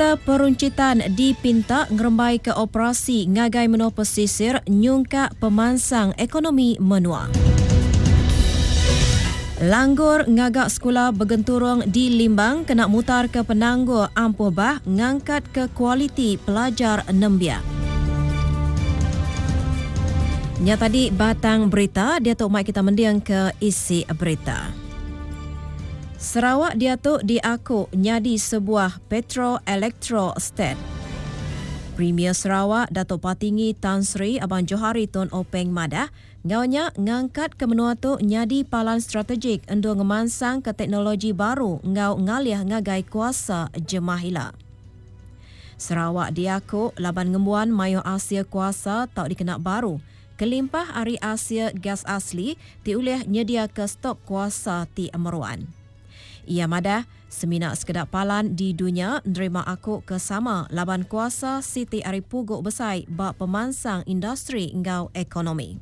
Peruncitan dipinta ngerembaika operasi ngagai menua pesisir nyungkak pemansang ekonomi menua. Langgur ngaga sekula begenturung di Limbang kena mutarka penanggul ampuh bah ngangkatka kualiti pelajar nembiak. Nya tadi batang berita, diatu mai kita mendingka isi berita. Sarawak diatu diaku nyadi sebuah Petro Electro State. Premier Sarawak Datuk Patinggi Tan Sri Abang Johari Tun Openg madah, enggau nya ngangkatka menua tu nyadi palan strategik endur ngemansangka teknologi baru enggau ngalih ngagai kuasa jemah ila. Sarawak diaku laban ngembuan mayuh asil kuasa tau dikena baru kelimpah ari asil gas asli ti ulih nyediaka stok kuasa ti meruan. Iya madah, semina sekeda palan di dunya nerima aku ke sama laban kuasa siti ari pugu besai ba pemansang industri enggau ekonomi.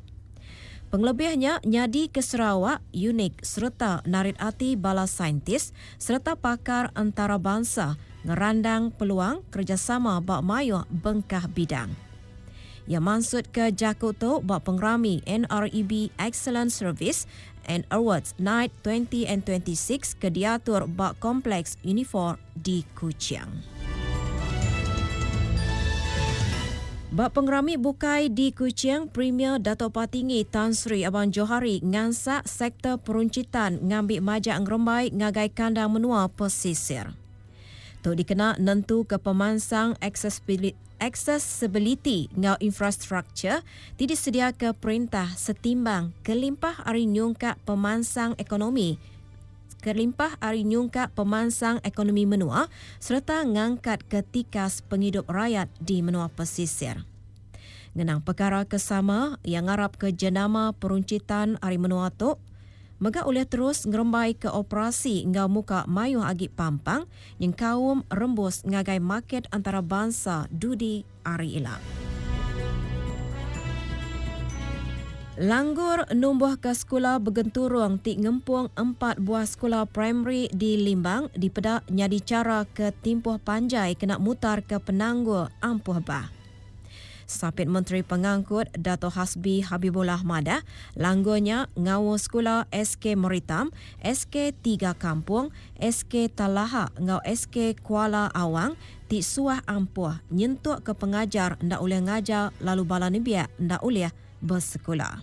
Pengelebih nya nyadika Sarawak unik sereta narit ati bala saintis sereta pakar entarabansa ngerandang peluang kerejasama ba mayuh bengkah bidang. Iya mansutka jaku tu ba pengerami NREB Excellent Service and Awards Night 20 and 26 ke diatur ba Kompleks Unifor di Kuching. Ba pengerami bukai di Kuching, Premier Datuk Patinggi Tan Sri Abang Johari ngansak sektor peruncitan ngambi majak ngerembai ngagai kandang menua pesisir. Tu dikena nentuka pemansang aksesibiliti enggau infrastruktur ti disediaka perintah setimbang kelimpah ari nyungkak pemansang ekonomi kelimpah ari nyungkak pemansang ekonomi menua sereta ngangkatka tikas pengidup rayat di menua pesisir. Ngenang pekara ke sama, iya ngarapka jenama peruncitan ari menua tu mega ulih terus ngerembaika operasi enggau muka mayuh agi pampang nyengkaum rembus ngagai market antarabansa dudi hari ila. Langgur numbuhka sekula begenturung ti ngempung empat buah sekula primari di Limbang dipeda nyadi chara ke timpuh panjai kena mutarka penanggul ampuh bah. Sapit Menteri Pengangkut Dato Hasbi Habibullah madah, langgur nya ngaul sekula SK Meritam, SK Tiga Kampung, SK Talaha enggau SK Kuala Awang ti suah ampuh nyentuk ke pengajar enda ulih ngajar lalu bala nembiak enda ulih besekula.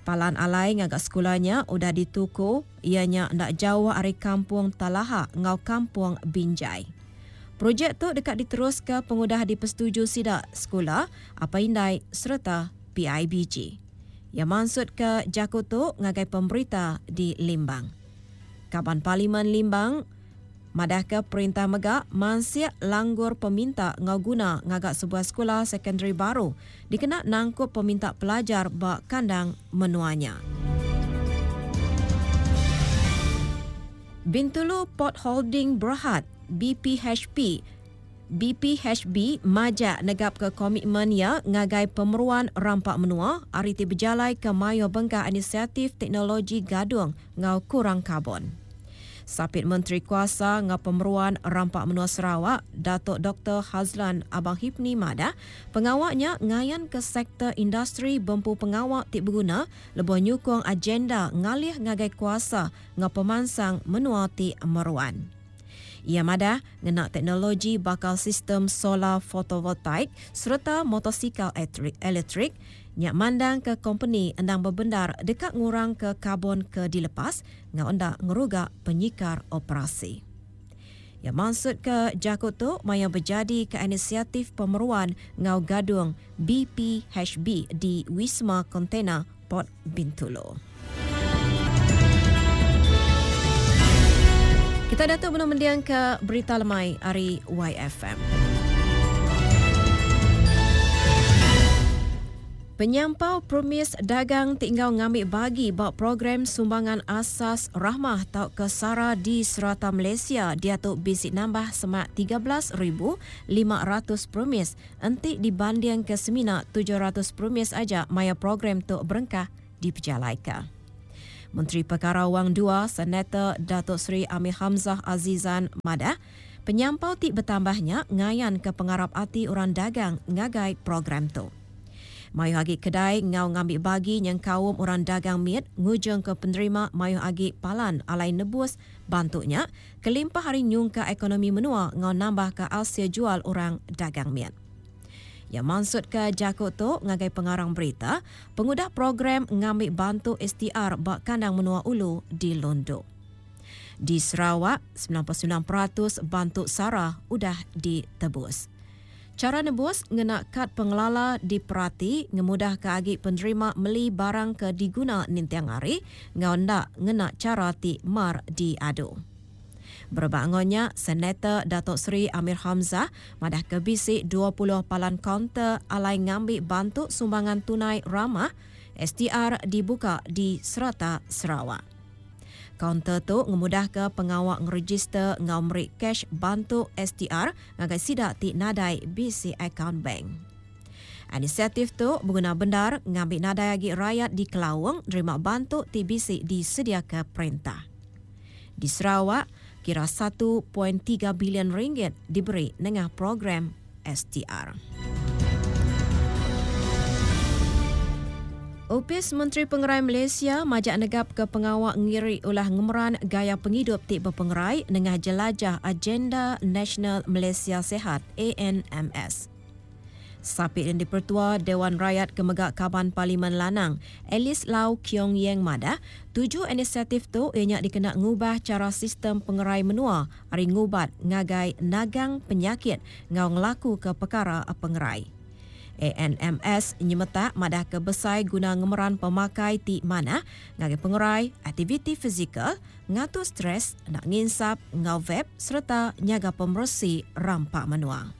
Palan alai ngaga sekula nya udah dituku iya nya enda jauh ari Kampung Talaha enggau Kampung Binjai. Projek tu deka diteruska pengudah dipesetuju sida sekula, apai indai sereta PIBG. Iya mansutka jaku tu ngagai pemberita di Limbang. Kaban Parlimen Limbang madahka perintah mega mansik langgur peminta enggau guna ngaga sebuah sekula sekondari baru dikena nangkup peminta pelajar ba kandang menua nya. Bintulu Port Holding Berhad, BPHP, BPHB majak negapka komitmen iya ngagai pemeruan rampa menua ari ti bejalaika mayuh bengkah inisiatif teknologi gadung enggau kurang karbon. Sapit Menteri Kuasa enggau Pemeruan Rampa Menua Sarawak, Datuk Doktor Hazland Abang Hipni madah, pengawa nya ngayanka sektor industri bempu pengawa ti beguna lebuh nyukung agenda ngalih ngagai kuasa enggau pemansang menua ti meruan. Iya madah, ngena teknologi baka sistem solar fotovoltaik sereta motosikal elektrik nya mandangka kompeni endang bebendar deka ngurangka karbon ke dilepas enggau enda ngeruga penyikar operasi. Iya mansutka jaku tu maya bejadika inisiatif pemeruan enggau gadung BPHB di Wisma Kontena Port Bintulu. Kita diatu benung mendingka berita lemai ari YFM. Penyampau premis dagang ti enggau ngambi bagi ba program Sumbangan Asas Rahmah tauka SARA di serata Malaysia diatu bisi nambah semak 13,500 premis enti dibandingka semina 700 premis aja maya program tu berengkah dipejalaika. Menteri Pekara Wang Dua Senator Datuk Seri Amir Hamzah Azizan madah, Penyampau ti betambah nya ngayanka pengarap ati orang dagang ngagai program tu. Mayuh agi kedai enggau ngambi bagi nyengkaum orang dagang mit ngujungka penerima mayuh agi palan alai nebus bantu nya kelimpah ari nyungkak ekonomi menua enggau nambahka asil jual orang dagang mit. Iya mansutka jaku tu ngagai pengarang berita pengudah program ngambi bantu STR ba kandang menua ulu di Lundu. Di Sarawak, 99% bantu sara udah ditebus. Chara nebus ngena kad pengelala diperati ngemudahka agi penerima meli barang ke diguna ninting hari enggau enda ngena chara ti mar diadu. Berebak enggau nya, Senator Datuk Seri Amir Hamzah madahka bisi 20 palan kaunter alai ngambi bantu sumbangan tunai ramah, STR, dibuka di serata Sarawak. Kaunter tu ngemudahka pengawa ngerejister enggau meri cash bantu STR ngagai sida ti nadai bisi akaun bank. Inisiatif tu beguna bendar ngambi nadai agi rayat dikelaung nerima bantu ti bisi disediaka perintah. Di Sarawak, kira 1.3 bilion ringgit diberi nengah program STR. Opis Menteri Pengerai Malaysia majak negapka pengawa ngiri ulah ngemeran gaya pengidup ti bepengerai nengah jelajah Agenda Nasional Malaysia Sihat, ANMS. Sapit Yang Dipertua Dewan Rayat ke mega Kaban Parlimen Lanang, Alice Lau Kiong Yeng madah, tuju inisiatif tu iya nya dikena ngubah chara sistem pengerai menua ari ngubat ngagai nagang penyakit enggau ngelakuka pekara pengerai. ANMS nyemetak madahka besai guna ngemeran pemakai ti manah ngagai pengerai, aktiviti fizikal, ngatur stres, enda nginsap enggau vape sereta nyaga pemeresi rampa menua.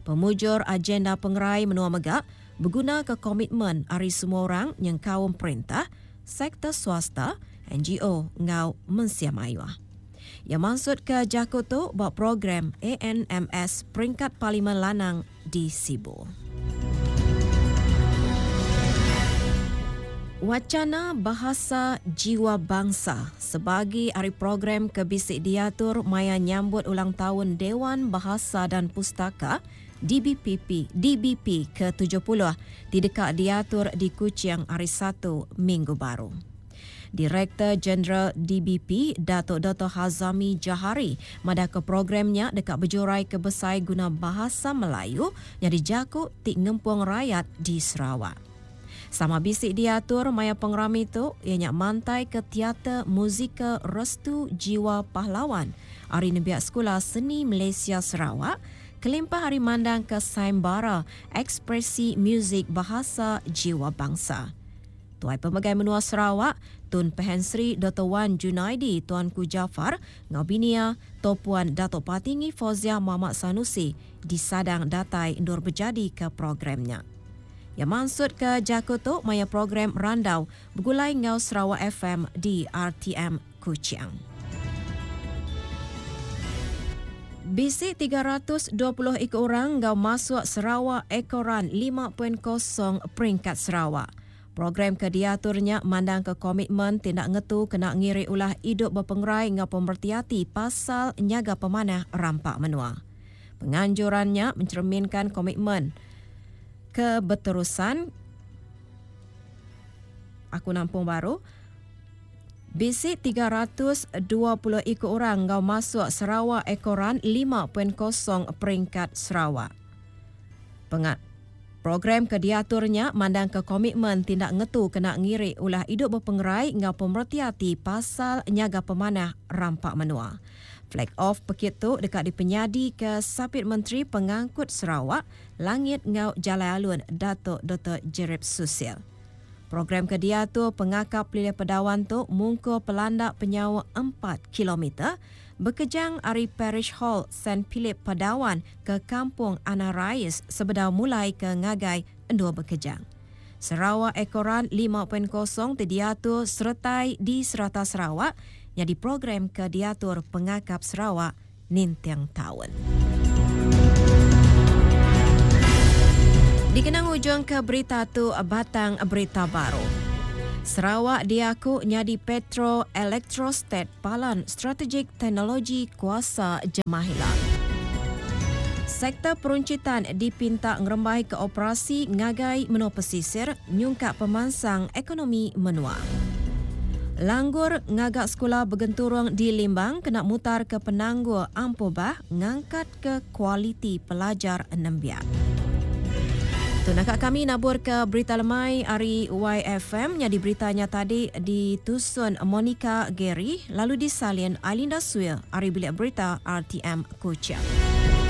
Pemujur agenda pengerai menua mega begunaka komitmen ari semua orang nyengkaum perintah, sektor swasta, NGO enggau mensia mayuh. Iya mansutka jaku tu ba program ANMS Peringkat Parlimen Lanang di Sibu. Wacana Bahasa Jiwa Bangsa sebagi ari program ke bisi diatur maya nyambut ulang taun Dewan Bahasa dan Pustaka, DBPP, DBP, ke 70 ti deka diatur di Kuching hari Satu minggu baru. Direktor Jeneral DBP, Datuk Doktor Hazami Jahari madahka program nya deka bejuraika besai guna Bahasa Melayu nyadi jaku ti ngempung rayat di Sarawak. Sama bisi diatur maya pengerami tu iya nya mantaika teater muzikal Restu Jiwa Pahlawan ari Nembiak Sekula Seni Malaysia Sarawak kelimpah ari mandangka sayembara ekspresi muzik Bahasa Jiwa Bangsa. Tuai Pemegai Menua Sarawak, Tun Pehin Sri Doktor Wan Junaidi Tuanku Jaafar enggau bini iya, Toh Puan Datuk Patinggi Fauziah Mohd Sanusi disadang datai endur bejadika program nya. Iya mansutka jaku tu maya program randau begulai enggau Sarawak FM di RTM Kuching. Bisi 320 iku orang enggau masuk Sarawak Eco Run 5.0 peringkat Sarawak. Program ke diatur nya mandangka komitmen ti enda ngetu kena ngiri ulah idup bepengerai enggau pemereti ati pasal nyaga pemanah rampa menua. Penganjuran nya mencerminkan komitmen ke beterusan aku nampung baru bisi 320 iku orang enggau masuk Sarawak Eco Run 5.0 peringkat Sarawak. Penga Program ke diatur nya mandangka komitmen ti enda ngetu kena ngiri ulah idup bepengerai enggau pemereti ati pasal nyaga pemanah rampa menua. Flag off pekit tu deka dipenyadika Sapit Menteri Pengangkut Sarawak, Langit enggau Jalai Alun Datuk Doktor Jerip Susil. Program ke diatur Pengakap Pelilih Pedawan tu mungkur pelanda penyauh empat kilometer bekejang ari Parish Hall Saint Philip Padawan ke Kampung Ana Rais sebedau mulai ke ngagai endur bekejang. Sarawak Eco Run 5.0 ti diatur seretai di serata Sarawak nyadi program ke diatur Pengakap Sarawak ninting taun. Dikena ngujungka berita tu batang berita baru. Sarawak diaku nyadi Petro Electrostat Palan Strategik Teknologi Kuasa Jemah ila. Sektor peruncitan dipinta ngerembai ke operasi ngagai menua pesisir nyungkak pemansang ekonomi menua. Langgur ngaga sekula begenturung di Limbang kena mutar ke penanggul ampuh bah ngangkat ke kualiti pelajar nembiak. Tu naka kami nabur ke berita lemai ari YFM nyadi beritanya tadi ditusun Monica Gary lalu disalin Ailinda Suil ari bilik berita RTM Kuching.